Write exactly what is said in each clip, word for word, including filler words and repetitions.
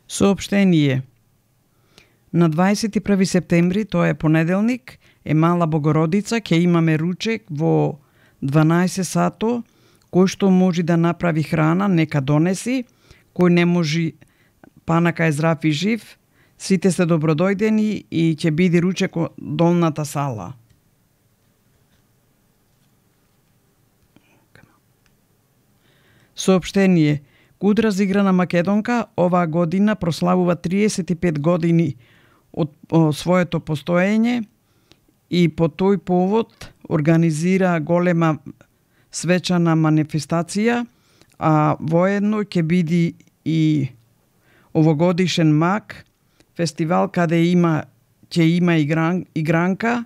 Соопштение. На дваесет и први септември, тоа е понеделник, е Мала Богородица, ќе имаме ручек во дванаесет сато, кој што може да направи храна, нека донеси, кој не може, панака е здрав и жив, сите се добродојдени и ќе биде ручек во долната сала. Соопштение. Куд разиграна македонка оваа година прославува триесет и пет години од своето постоење и по тој повод организира голема свечана манифестација, а воедно ќе биде и овогодишен мак, фестивал каде има ќе има игран, игранка,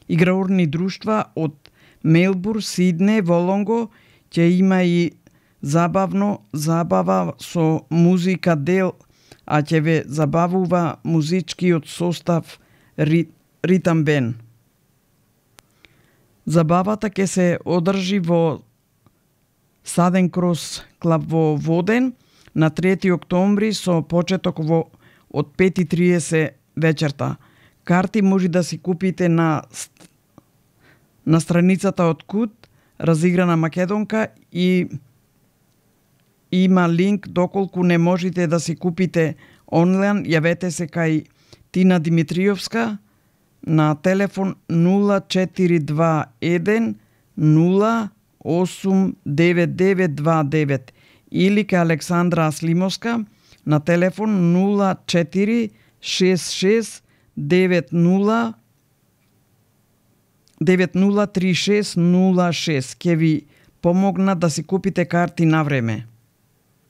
играурни друштва од Мелбур, Сидне, Волонго, ќе има и забавно забава со музика дел, а ќе ве забавува музичкиот состав Рит, Ритам Бен. Забавата ќе се одржи во Саден Крос клуб во Воден на трети октомври со почеток во од пет и триесет вечерта. Карти може да си купите на на страницата од Куд разиграна македонка и има линк доколку не можете да си купите онлайн, јавете се кај Тина Димитриевска на телефон нула четири два еден нула осум девет девет два девет или кај Александра Аслимовска на телефон нула четири шест шест девет нула девет нула три шест нула шест. Ќе ви помогна да си купите карти на време.